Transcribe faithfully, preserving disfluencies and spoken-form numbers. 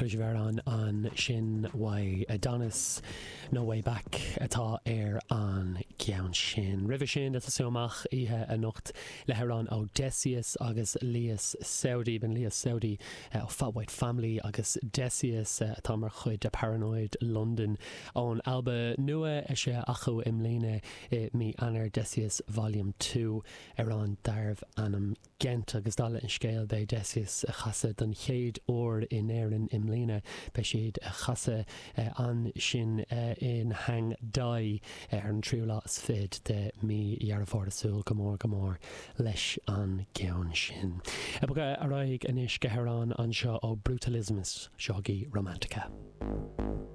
Tar éis amhrán ansin uaidh Adonis No Way Back atá ar an gceann sin. Roimhe sin ag tosú amach oíche anocht le hamhrán ó Desius agus Lias Saudi b'in Lias Saudi ó Fat White Family agus Desius atá mar chuid de Paranoid London ón albam nua eisithe acu i mbliana i mí Eanáir Desius Volume Two amhrán darbh ainm Gent agus dála an scéil beidh Desius ag casadh don chéad uair in Éirinn i mbliana beidh siad ag casadh ansin in Hang Dai ar an tríú lá is fiche de mí Dheireadh Fómhair súil go mór go mór leis an gceann sin. Ag bogadh ar aghaidh anois go hamhrán anseo ó Brutalismus seogaí Romantica.